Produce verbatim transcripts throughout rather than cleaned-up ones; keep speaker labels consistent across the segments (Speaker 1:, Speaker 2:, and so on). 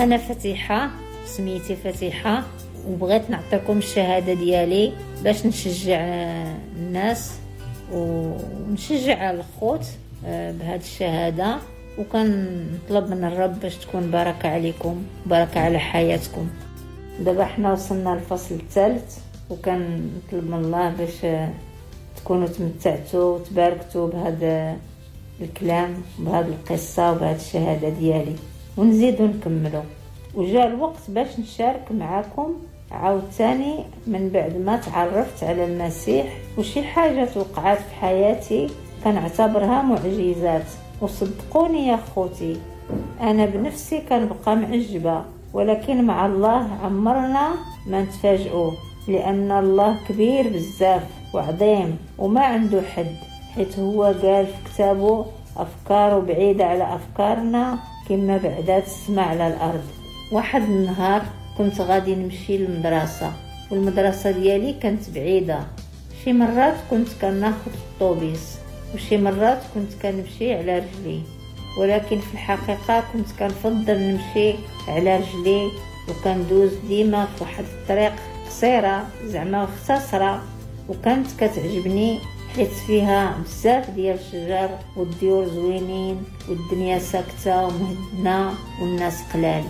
Speaker 1: انا فتيحه، سميتي فتيحه، وبغيت نعطيكم الشهادة ديالي باش نشجع الناس ونشجع الخوت بهذه الشهاده، وكنطلب من الرب باش تكون بركة عليكم، بركة على حياتكم. دابا حنا وصلنا للفصل الثالث، وكنطلب من الله باش تكونوا تمتعتوا وتباركتوا بهذا الكلام، بهذه القصة وبهذه الشهادة ديالي، ونزيدوا نكملوا. وجاء الوقت باش نشارك معكم عاوتاني من بعد ما تعرفت على المسيح وشي حاجة وقعت في حياتي كنعتبرها معجزات. وصدقوني يا خوتي، انا بنفسي كنبقى معجبه، ولكن مع الله عمرنا ما نتفاجئوا، لان الله كبير بزاف وعظيم وما عنده حد، حيت هو قال في كتابه افكاره بعيدة على افكارنا كما بعدات السماء على الارض. واحد النهار كنت غادي نمشي للمدرسة، والمدرسة ديالي كانت بعيدة. شي مرات كنت كناخذ الطوبيس، وشي مرات كنت كنمشي على رجلي، ولكن في الحقيقة كنت كنفضل نمشي على رجلي، وكندوز ديما في واحد الطريق قصيرة زعما مختصره، وكانت كتعجبني حيت فيها بزاف ديال الشجر والديور زوينين والدنيا ساكته ومهدنه والناس قلال.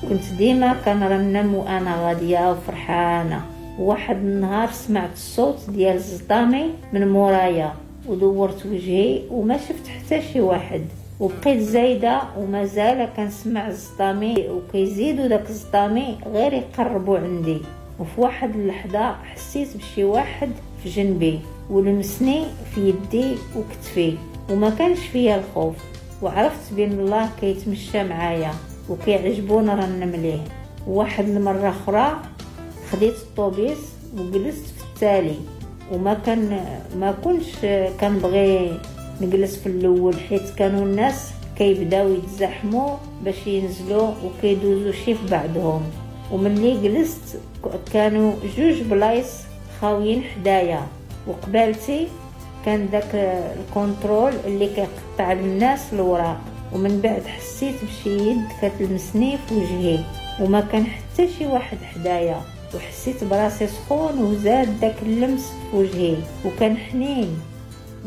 Speaker 1: كنت ديما كنرنم وانا غادية وفرحانه. واحد النهار سمعت الصوت ديال الزطامي من مورايا، ودورت وجهي وما شفت حتى شي واحد، وبقيت زايدة ومازال كنسمع الزطامي، وكيزيدوا داك الزطامي غير يقربوا عندي. وفي واحد اللحظة حسيت بشي واحد في جنبي ولمسني في يدي وكتفي، وما كانش فيا الخوف، وعرفت بان الله كيتمشى معايا وكيعجبو نرنم ليه. واحد المرة اخرى خديت الطوبيس وجلست في التالي، وما كان ما كنتش كنبغي نجلس في الاول، حيت كانوا الناس كيبداو يتزحموا باش ينزلوا وكيدوزوا شي في بعضهم. وملي جلست كانوا جوج بلايص خاويين حدايا، وقبالتي كان داك ال contrôle اللي كيقطع للناس الوراق. ومن بعد حسيت بشي يد كتلمسني في وجهي، وما كان حتى شي واحد حدايا، وحسيت براسي سخون وزاد داك اللمس في وجهي، وكان حنين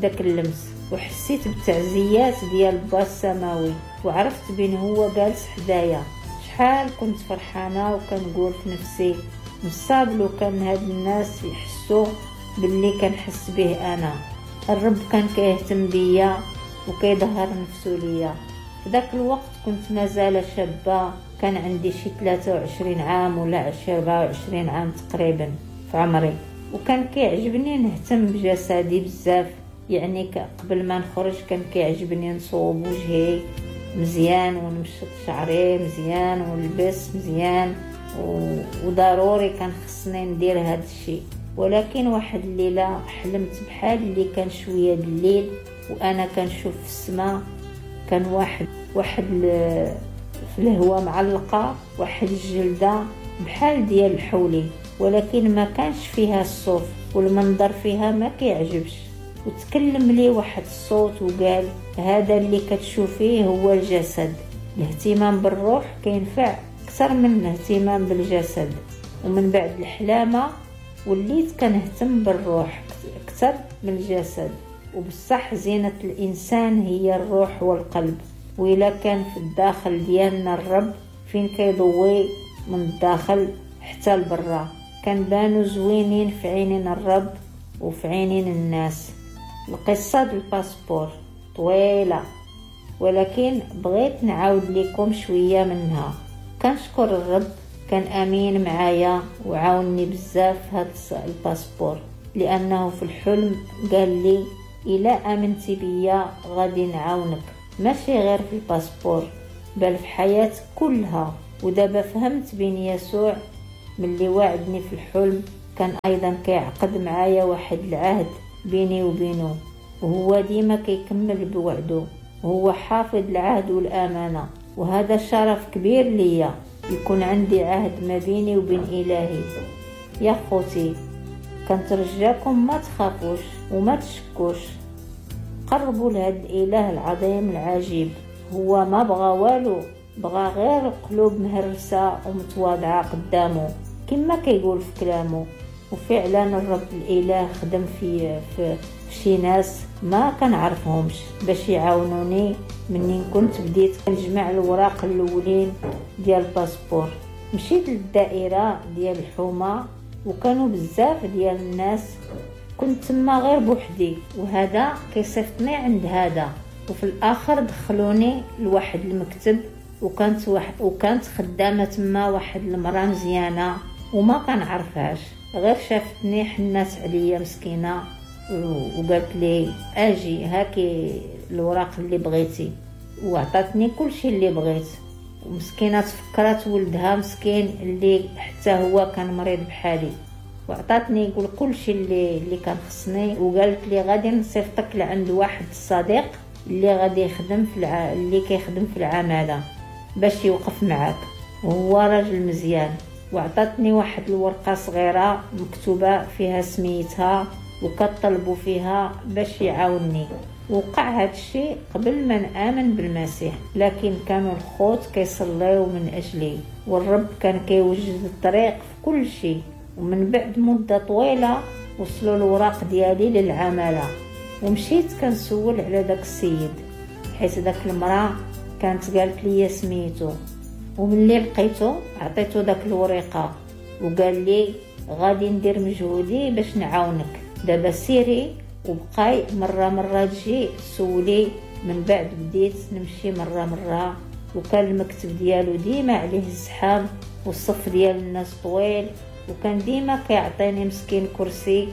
Speaker 1: داك اللمس، وحسيت بالتعزيات ديال با السماوي، وعرفت بين هو جالس حدايا. شحال كنت فرحانة، وكنقول في نفسي مصاب لو كان هاد الناس يحسوا باللي كنحس به انا. الرب كان كيهتم بيا وكيظهر نفسه ليا. في ذاك الوقت كنت مازال شابه، كان عندي شي ثلاثة وعشرين عام ولا أربعة وعشرين عام تقريبا في عمري، وكان كيعجبني نهتم بجسدي بزاف. يعني قبل ما نخرج كان كيعجبني نصوب وجهي مزيان ونمشط شعري مزيان ونلبس مزيان، وضروري كان خصني ندير هذا الشيء. ولكن واحد الليلة حلمت بحال اللي كان شوية الليل، وانا كنشوف في السماء كان واحد واحد في الهواء معلقه واحد الجلدة بحال ديال الحولي، ولكن ما كانش فيها الصوف والمنظر فيها ما كيعجبش. وتكلم لي واحد الصوت وقال هذا اللي كتشوفيه هو الجسد، الاهتمام بالروح كينفع اكثر من الاهتمام بالجسد. ومن بعد الحلامه وليت كنهتم بالروح اكثر من الجسد. وبصح زينة الإنسان هي الروح والقلب، وإلا كان في الداخل ديالنا الرب فين كيضوي من الداخل حتى لبرا، كنبانو زوينين في عينين الرب وفي عينين الناس. القصة ديال ال passeport طويلة، ولكن بغيت نعاود لكم شوية منها. كنشكر الرب كان أمين معايا وعاوني بزاف هاد ال passeport، لأنه في الحلم قال لي إلا آمنتي بيا غادي نعاونك، ماشي غير في ال passeport بل في حياتك كلها. ودابا فهمت بين يسوع ملي وعدني في الحلم كان أيضا كيعقد معايا واحد العهد بيني وبينه، وهو ديما كيكمل بوعده، وهو حافظ العهد والأمانة. وهذا شرف كبير ليا يكون عندي عهد ما بيني وبين إلهي. يا خوتي كنترجاكم ما تخافوش وما تشكوش، قربوا لهذا الإله العظيم العجيب. هو ما بغى والو بغى غير القلوب مهرسة ومتواضعة قدامه كما كيقول في كلامه. وفعلا الرب الإله خدم في, في, في شي ناس ما كنعرفهمش باش يعاونوني منين كنت بديت كنجمع الوراق الاولين ديال ال passeport. مشيت للدائرة ديال الحومة وكانوا بزاف ديال الناس، كنت تما غير بوحدي، وهذا كيصيفطني عند هذا، وفي الاخر دخلوني لواحد المكتب، وكانت واحد وكانت خدامه تما واحد المراه مزيانه وما كنعرفهاش، غير شافتني حنات عليا مسكينه وقالت لي اجي هاكي الوراق اللي بغيتي، وعطاتني كل شيء اللي بغيت. ومسكينه تفكرات ولدها مسكين اللي حتى هو كان مريض بحالي، وعطاتني يقول كل شيء اللي اللي كان خصني، وقالت لي غادي نصيفطك لعند واحد الصديق اللي غادي يخدم في الع... اللي كيخدم في العماله باش يوقف معاك، وهو راجل مزيان. وعطاتني واحد الورقه صغيره مكتوبه فيها سميتها وكطلبوا فيها باش يعاونني. وقع هذا الشيء قبل ما نآمن بالمسيح، لكن كانوا الخوت كيصليو من أجلي، والرب كان كيوجد الطريق في كل شيء. ومن بعد مدة طويلة وصلوا الوراق ديالي للعمالة، ومشيت كنسول على داك السيد، حيت داك المرأة كانت قالت لي سميتو. وملي لقيتو عطيتو داك الورقة، وقال لي غادي ندير مجهودي باش نعاونك، دابا سيري وبقاي مرة مرة تجي سولي. من بعد بديت نمشي مرة مرة، وكان المكتب ديالو ديما عليه الزحام والصف ديال الناس طويل، وكان ديما كيعطيني مسكين كرسي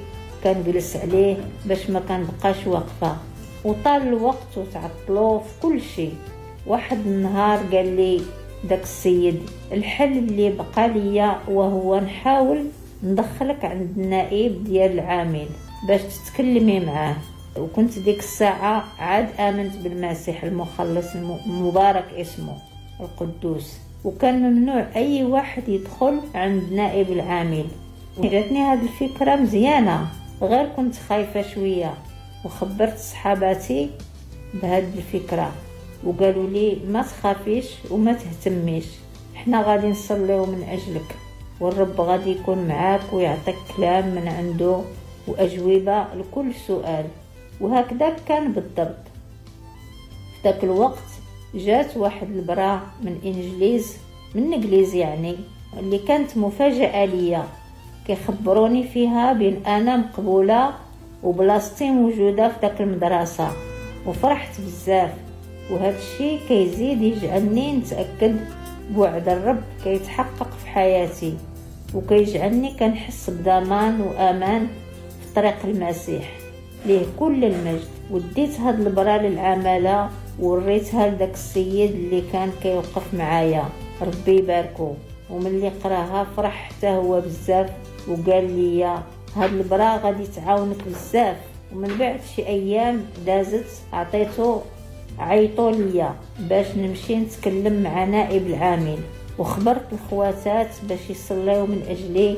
Speaker 1: كنجلس عليه باش ما كنبقاش واقفة. وطال الوقت وتعطلو في كل شيء. واحد النهار قال لي داك السيد الحل اللي بقى ليا وهو نحاول ندخلك عند النائب ديال العامل باش تتكلمي معاه. وكنت ديك الساعة عاد آمنت بالمسيح المخلص المبارك اسمه القدوس، وكان ممنوع أي واحد يدخل عند نائب العامل. جاتني هذه الفكرة مزيانة، غير كنت خايفة شوية، وخبرت صحاباتي بهذه الفكرة وقالوا لي ما تخافيش وما تهتميش، احنا غادي نصليو من أجلك، والرب غادي يكون معاك ويعطيك كلام من عنده وأجوبة لكل سؤال. وهكذا كان بالضبط. في ذاك الوقت جات واحد البراء من إنجليز من إنجليز يعني، اللي كانت مفاجأة ليا، كيخبروني فيها بأن أنا مقبولة وبلاصتي موجودة في ذاك المدرسة، وفرحت بزاف. وهذا الشيء كيزيد يجعلني نتأكد بوعد الرب كيتحقق في حياتي، وكيجعلني كنحس بضمان وأمان في طريق المسيح ليه كل المجد. وديت هاد البرا للعمالة وريتها لداك السيد اللي كان كيوقف معايا، ربي يباركو. وملي قراها فرح حتى هو بزاف، وقال لي هاد البرا غادي تعاونك بزاف. ومن بعد شي ايام دازت عطيتو عيطوا ليا باش نمشي نتكلم مع نائب العامل، وخبرت الخواتات باش يصليو من اجلي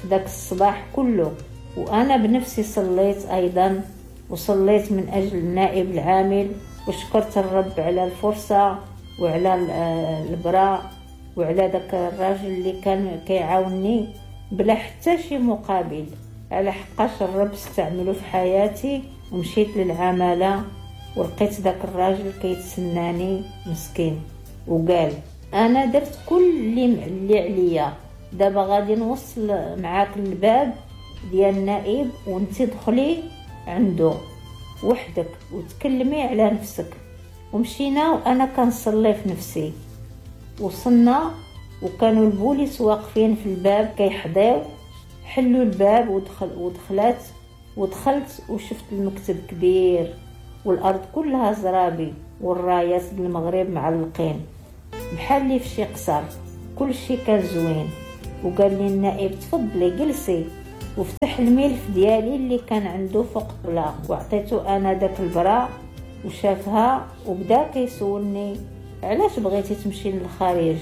Speaker 1: في داك الصباح كله. وانا بنفسي صليت ايضا، وصليت من اجل النائب العامل، وشكرت الرب على الفرصه وعلى البراء وعلى داك الراجل اللي كان كيعاونني بلا حتى شي مقابل، على حقاش الرب استعمله في حياتي. ومشيت للعماله ولقيت داك الراجل كيتسناني مسكين، وقال انا درت كل اللي اللي عليا، دابا غادي نوصل معاك الباب ديال النائب وانت دخلي عنده وحدك وتكلمي على نفسك. ومشينا وانا كنصلي في نفسي. وصلنا وكانوا البوليس واقفين في الباب كيحضيو، حلوا الباب ودخل ودخلت ودخلت وشفت المكتب كبير والارض كلها زرابي والرايات المغرب معلقين بحال اللي في شي قصر، كل شي كان زوين. وقال لي النائب تفضلي جلسي، وفتح الملف ديالي اللي كان عنده فوق الطبلة، وعطيته انا داك البراء وشافها وبدا كيسولني علاش بغيتي تمشي للخارج،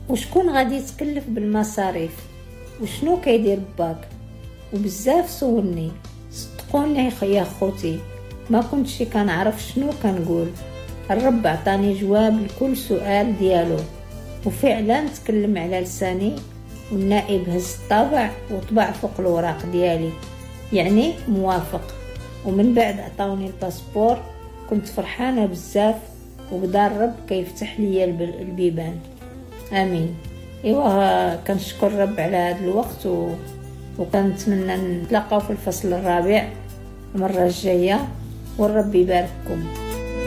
Speaker 1: وشكون غادي يتكلف بالمصاريف، وشنو كيدير باك، وبزاف سولني. صدقوني يا خوتي ما كنتش كنعرف شنو كنقول، الرب عطاني جواب لكل سؤال ديالو، وفعلا تكلم على لساني، والنائب هز الطابع وطبع فوق الوراق ديالي، يعني موافق. ومن بعد عطاوني ال passeport. كنت فرحانة بزاف، وبدا الرب كيفتح لي البيبان. امين. ايوا كنشكر الرب على هذا الوقت، و... وكنتمنى نتلاقاو في الفصل الرابع المرة الجاية، والرب يبارككم.